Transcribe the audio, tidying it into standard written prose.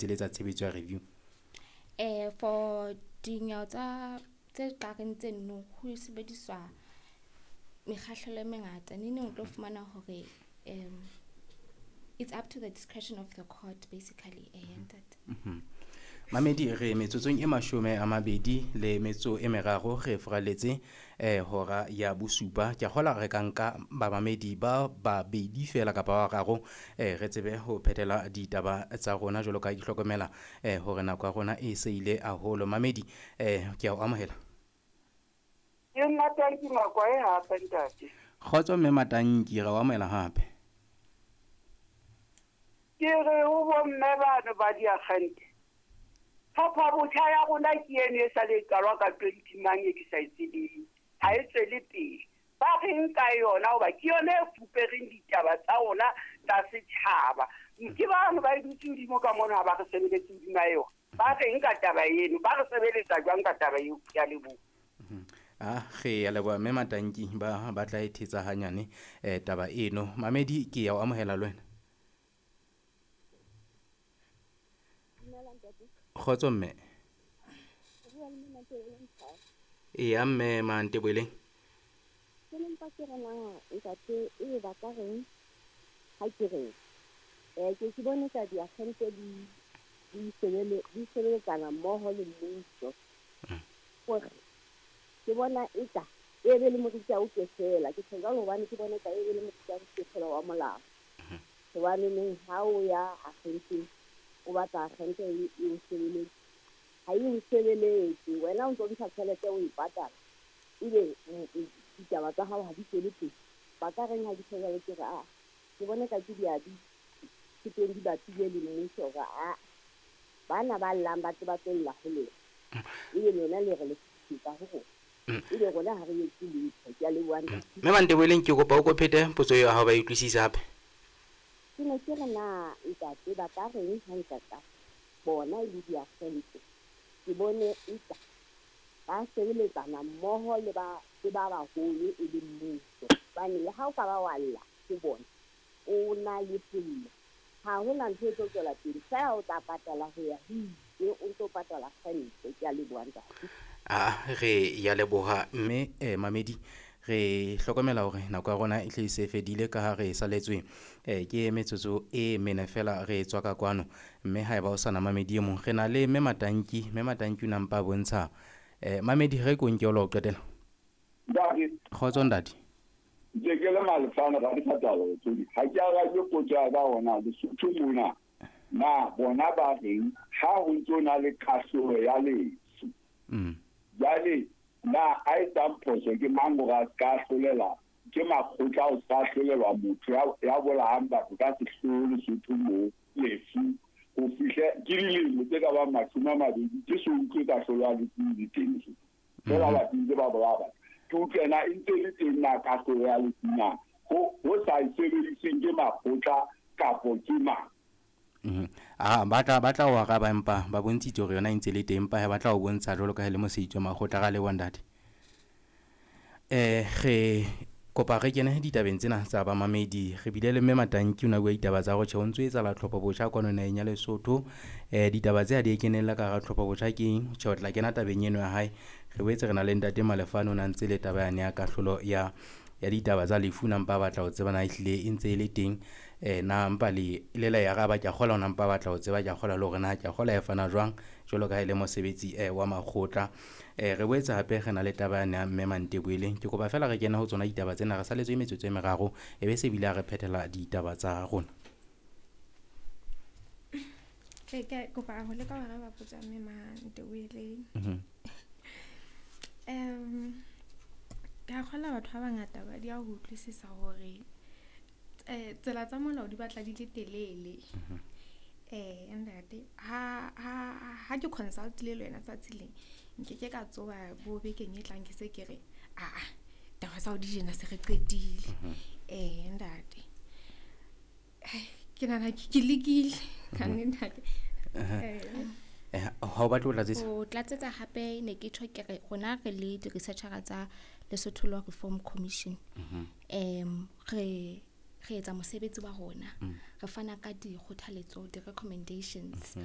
Tseletsa tshebetso ya review. For dinyewe tsa tse kareng tseno ho sebediswa mekgahlelo e mengata. Neneng o tlo fumana hore it's up to the discretion of the court basically, ntate. Mamedi, re metsotsong e 23 re furaletse hora ya bosupa. Ke a kgolwa re ka nka bamamedi ba babedi feela kapa ba bararo, re tsebe ho phethela ditaba tsa rona jwalo ka ha ke hlokomela hore nako ya rona e se ile haholo. Mamedi, ke a o amohela. Ke Matanki Makwae hape, ntate. Kgotso mme Matanki, re o amohela hape. Ke re ho bomme bano ba diakgente, tlhopho botjha ya rona ke eno e sa le qalwa ka 20 mang e ke sa e tsebeng, ha e tswele pele. Ba reng ka yona hoba ke yona e fupereng ditaba tsa rona tsa setjhaba. Ke bano ba e dutse hodimo ka mono, ha ba re sebeletse hodima yona. Ba reng ka taba eno? Ba re sebeletsa jwang ka taba eo? Ke a leboha. Re a leboha mme Matanki, ba batla e thetsa hanyane taba eno. Mamedi, ke ya o amohela le wena. Kgotso mme. Eya mme Manteboeleng. Ke ne mpa ke re na ntate e ba ka reng ha ke reng. Ke bone ka diakgente di sebeletsana mmoho le mmuso. Hore ke bona eka e be le moriti o ke fela, ke tjho jwalo hobane ke bona eka e be le moriti o ke fela wa molao. Hobane neng ha o ya akgenteng, o batla akgente e o sebeletse, ha e o sebeletse, wena o ntso ntsha tjhelete o e patala, ebe ditaba tsa hao ha di tswele pele. Ba ka reng ha di tjho jwalo? Ke re a ke bone ka ke diabi ke teng di bapile le mmuso hore a bana ba llang ba tle ba tlo lla ho lona, ebe lona le re le fetisetsa ho rona, ebe rona ha re etse letho. Ke a leboha ntate. Mme Manteboeleng, ke kopa o ko phete potso eo ya hao ba e utlwisise hape. Ke ne ke re na ntate ba ka reng ha ntata bona e le diakgente, ke bone eka ba sebeletsana mmoho le ba baholo e le mmuso. Hobane le ha o ka ba wa lla ho bona, o na le sello, ha hona ntho e tlo tswela pele, feela o tla patala ho ya ho ile, o ntso patala kgente. Ke a leboha ntate. Re ya leboha mme mamedi, re hlokomela hore nako ya rona e hle e se fedile ka ha re saletswe ke metsotso e mene fela re tswa ka kwano. Mme haeba o sana mamedi e mong, re na le mme Matanki. Mme Matanki o na mpa bontsha mamedi, re ko nke o la ho qetela. Ntate. Kgotso ntate. Ke ke le Malefane ra dikgatalo tsodi. Ha ke arabe potso ya ka hona Lesotho mona. Na bona ba reng ha ho ntso na le kahlolo ya lefu? Jwale na a etsang phoso ke mang hore a ska ahlolela, ke makgotla o ska ahlolelwa motho ya bolayang batho ka sehloho Lesotho moo lefu ho fihle ke dilemo tse ka bang 20 ke so utlwe kahlolo ya lefu e le teng Lesotho. Feela batho ntse ba bolaya batho. Ke utlwe na e ntse le teng na kahlolo ya lefu na ho sa e sebediseng ke makgotla kapo ke mang? Ba tla o araba, empa ba bontshitse hore yona e ntse le teng, empa ba tla o bontsha jwalo ka ha e le mosebetsi wa makgotla. Ra leboha ntate. Re kopa re kene ditabeng tsena tsa bamamedi. Re bile le mme Matanki, o na bua ditaba tsa hore tjhe ho ntso etsahala tlhopho botjha kwano naheng ya Lesotho. Ditaba tse ha di kenella ka hara tlhopho botjha ke eng? Tjhe, o tla kena tabeng eno ya hae. Re boetse re na le ntate Malefane, o na ntse le taba yane ya kahlolo ya ditaba tsa lefu, na mpa batla ho tseba na ehlile e ntse e le teng, na mpa le le la e araba. Ke a kgolwa na mpa batla ho tseba, ke a kgolwa le hore na ke a kgolwa e fana jwang jwalo ka ha e le mosebetsi wa makgotla. Re boetse hape re na le taba yane ya mme Manteboeleng. Ke kopa feela re kene ho tsona ditaba tsena, re saletswe metsotso e meraro, e be se bile ha re phethela ditaba tsa rona. Ke kopa ho leka ho araba potso ya mme Manteboeleng. Ke a kgolwa batho ba bangata ba di a ho utlwisisa hore tsela tsa molao di batla di le telele. Ntate, ha ke consult-ile le wena tsatsi leng, nkeke ka tsoha bo bekeng e tlang ke se ke re aa taba tsa ho di jena se re qetile. Ntate, ke nahana ke lekile ka nnete ntate. Ha o batle ho tlatsetsa? Ho tlatsetsa hape ne ke tjho ke re rona re le di-researcher tsa Lesotho Law Reform Commission. Re etsa mosebetsi wa rona. Re fana ka dikgothaletso, di-recommendations.